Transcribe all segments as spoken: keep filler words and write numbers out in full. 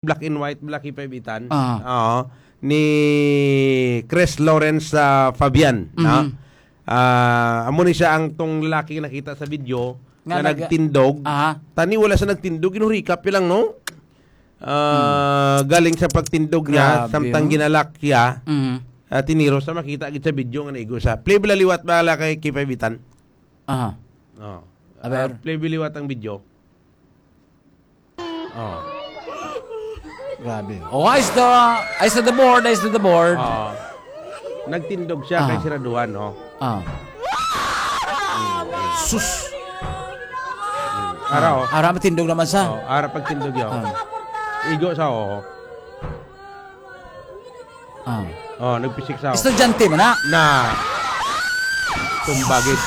black and white, black and white, Itan. Ah. Oo. Ni Chris Lawrence, ah, Fabian, no? Mhm. Ah, amo ni siya ang tong lalaki nga nakita sa video Nga nga nag- nagtindog. Aha. Tani wala siya nagtindog, ginhurikap lang, no? Ah, Hmm. galing sa pagtindog niya, Grabe, samtang oh. ginalak siya, Mhm. ah, tiniro sa makita gid sa video nga naigo siya. Play bala liwat bala kay Kipay Bitan. Aha. Oh. Aber. Ah, play bala liwat ang video. Oh. Grabe. Oh, eyes to, eyes to the board, eyes to the board. Oh. Nagtindog siya kay Ah. siraduhan, oh. Ah. Sus. Ara, oh. Ara, matindog naman sa. Oh, ara pagtindog, yo. Ah. Igo sa, oh. Ah. Oh, nagpisik sa, oh. Estudyante man na. Na. Tumbagid.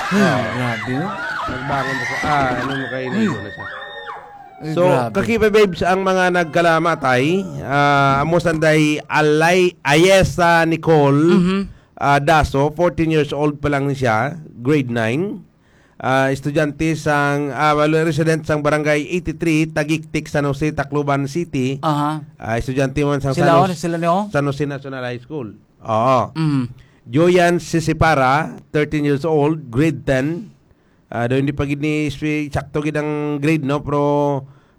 Hmm, Oh. grabe, oh. Nagbangon na siya. Ah, ano mo kayo, Hmm. naigo na siya. Ay, So, grabe. Kakipa Babes, ang mga nagkalamatay, ah, amo sanday Alay, Ayesa Nicole, Mhm. ah, Daso, fourteen years old pa lang ni siya, grade nine. Ah, estudyante sang, ah, wala, resident sang Barangay eighty-three, Tagiktik, San Jose, Tacloban City. Aha. Ah, estudyante man sang Sila, San Jose, oh, sila ni, oh. San Jose National High School. Oo. Mm. Joyan Sisipara, thirteen years old, grade ten. Ah, do hindi pa gid ni si-, sakto gid ang grade, no? Pero,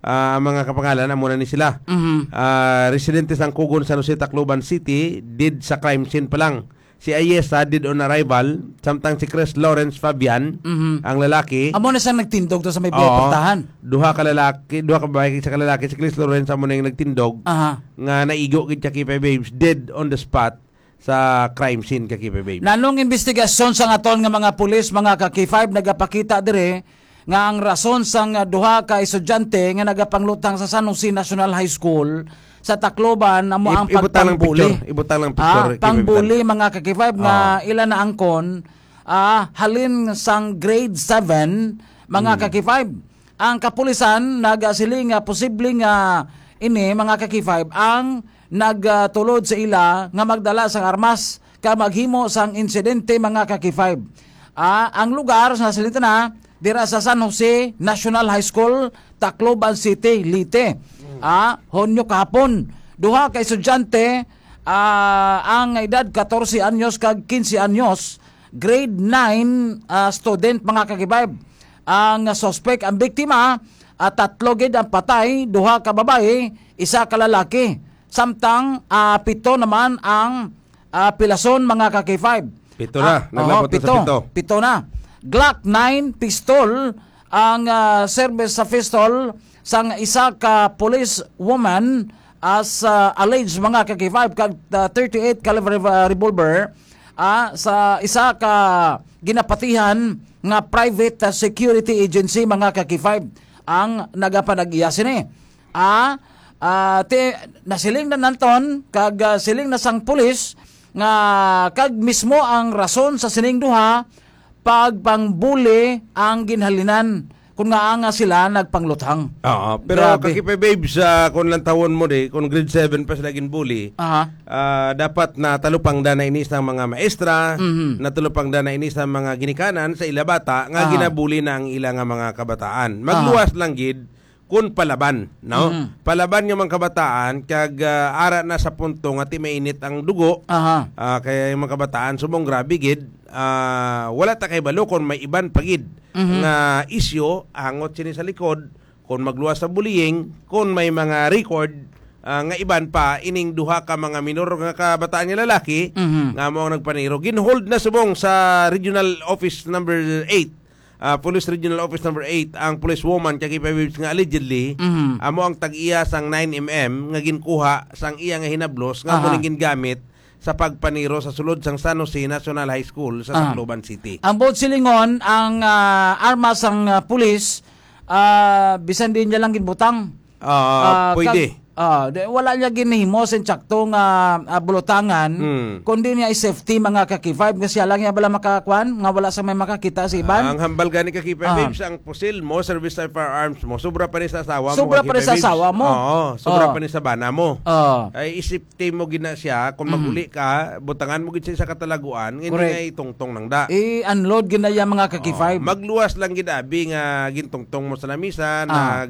ah, ang mga kapangalan, amo na ni sila. Mhm. Ah, residente sang Kugon, San Jose, Tacloban City, did sa crime scene pa lang. Si Ayesa did on arrival, samtang si Chris Lawrence Fabian, Mhm. ang lalaki. Amo na siyang nagtindog to sa may Oo. Portahan. Duha ka lalaki, duha ka babae, isa ka lalaki, si Chris Lawrence amo na yung nagtindog Aha. nga naigo gid siya, Kipay Babes, dead on the spot sa crime scene, Kipay Babes. Nanong investigasyon sa aton nga mga pulis, mga ka-K five, nagapakita dire nga ang rason sang, ah, duha ka estudyante nga nagapangluthang sa San Jose National High School sa Tacloban amo Ib-, ang ibutang lang pagpangbuli. Picture. Ibutang lang picture, Ah, Kevin. Pangbuli, mga ka-K five, nga Ah. ila naangkon, ah, halin sang grade seven, mga Hmm. ka-K five. Ang kapulisan nagasiling nga posible nga ini, mga ka-K five, ang nagtulod sa ila nga magdala sang armas ka maghimo sang insidente, mga ka-K five. Ah, ang lugar sa Salintana, dira sa San Jose National High School, Tacloban City, Leyte. Ah, Hunyo kahapon, duha ka estudyante, ah, ang edad katorse anyos kag kinse anyos, grade nine, ah, student, mga ka-K five. Ang suspect, ang biktima, ah, tatlo gid ang patay, duha ka babayi, isa ka lalaki. Samtang, ah, pito naman ang, ah, pilason, mga ka-K five. Pito na. Ah, Naglabot oo, na sa pito. Pito. Pito na. Glock nine pistol ang, ah, service sa pistol sang isa ka police woman as, ah, alleged, mga ka-K five, kag, ah, thirty-eight caliber rev-, ah, revolver, ah, sa isa ka ginapatihan nga private, ah, security agency, mga ka-K five, ang nagapanag-iya sini. Ah, ah, ti-, nasiling na nanton, kag, ah, siling na sang pulis nga kag mismo ang rason sa sining duha, pagpangbuli ang ginhalinan, kun ngaa nga sila nagpangluthang. Oo, pero Grabe. Kakipa Babes, ah, kung lantawon mo di, kung grade seven pa sila ginbuli, Aha. ah, dapat natalupangda na ini sa mga maestra, Mhm. natalupangda na ini sa mga ginikanan, sa ila bata, nga Aha. ginabuli na ang ila nga mga kabataan. Ah. Magluwas lang gid, kun palaban, no? Mhm. Palaban nga mga kabataan, kag, ah, ara na sa punto nga ti mainit ang dugo, Aha. ah, kay ang mga kabataan, subong grabe gid, ah, wala ta kay balo kung may iban pa gid Mhm. nga isyu, angot sini sa likod, kung magluwas sa bullying, kung may mga record, ah, nga iban pa, ining duha ka mga minor nga kabataan nga lalaki, Mhm. nga mo ang nagpaniro. Ginhold na subong sa Regional Office number eight, ah, Police Regional Office number eight, ang police woman kay Kipay Babes nga allegedly, Mhm. amo ang tag-iya sang nine M M nga ginkuha sang iya nga hinablos nga Aha. amo ning gingamit sa pagpaniro sa sulod sang San Jose National High School sa Aha. Tacloban City. Ang buot silingon, ang, ah, armas sang, ah, pulis, ah, bisan din niya lang ginbutang. Ah, Ah, pwede. kag-, Ah, di, wala niya ginhimo sa insakto nga, ah, bulutangan, Hmm. kundi niya i-safety, mga ka-K five, nga siya lang niya bala makakuan, nga wala sa may makakita sa iban. Ang hambal gani, ka-K five Ah. Babes, ang pusil mo, service sa firearms mo, sobra pa ni sa asawa mo, Sobra ka-K five pa ni sa Babes. Asawa mo. Oo, sobra Oh. pa ni sa bana mo. Oh. Ay, i-safety mo gina siya, kung Mhm. mag-uli ka, butangan mo gid siya sa katalaguan, nga hindi Correct. nga itungtong nang da. I-unload gid na iya, mga ka-K five. Oh, magluwas lang gid, abi, nga gintungtong mo sa lamisa, Ah. nag,